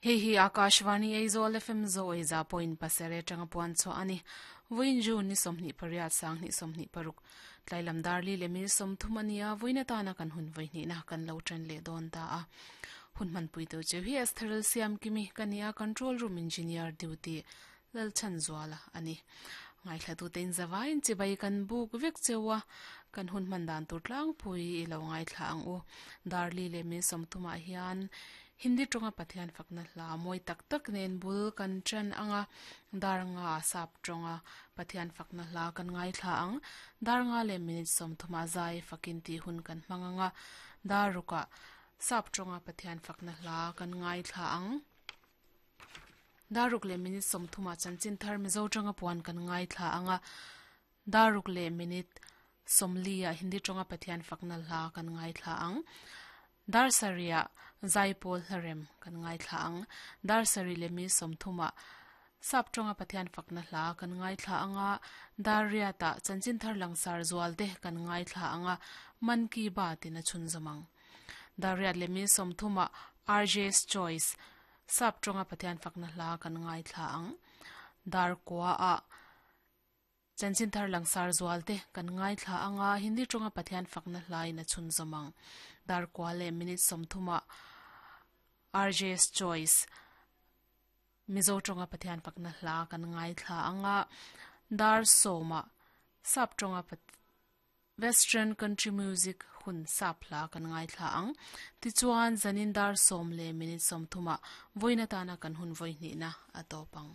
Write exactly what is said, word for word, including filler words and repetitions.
Hei hi Akashvani Aizawl F M zo e za point pasare tanga puan cho ani voin ju ni somni pariat sang ni somni paruk tlailam darli le mi som thumania voina ta na kan hun voini na kan lo tran le don ta a hun man pui to che hi astral siam kimi kania control room engineer duty lal chan zwala ani ngai thla tu ten zawain che bai kan buk vek chewa kan hun man dan tur tlang pui ilo ngai thla ang u darli le mi som thuma hian Hindi tonga pathian fakna hla moi tak tak nen bul kan chan anga darnga sap tonga pathian fakna hla kan ngai thla ang darnga le minute som thuma zai fakin ti hun kan manganga daruka sap tonga pathian fakna hla kan ngai thla ang daruk le minute som thuma chanchin thar mizo tonga puan kan ngai thla anga daruk le minute somlia Hindi tonga pathian fakna hla kan ngai thla ang Darsaria Zaipol harem kan ngai thla ang darsari le mi somthuma sap tonga pathian fakna hla kan ngai thla anga daria ta chanchin thar langsar zualte kan ngai thla anga man ki baat ina chun zamang daria le mi somthuma R J's choice sap tonga pathian fakna hla kan ngai thla ang dar kwa a chanchin thar langsar zualte kan ngai thla anga Hindi tonga pathian fakna hla ina chun zamang dar kwale minute somthuma R J's choice mizo tonga pathian fakna hla kan ngai thla anga dar soma sap tonga pat western country music hun sap hla kan ngai thla ang ti chuan zanin dar som le minute somthuma voina tana kan hun voini na atopang.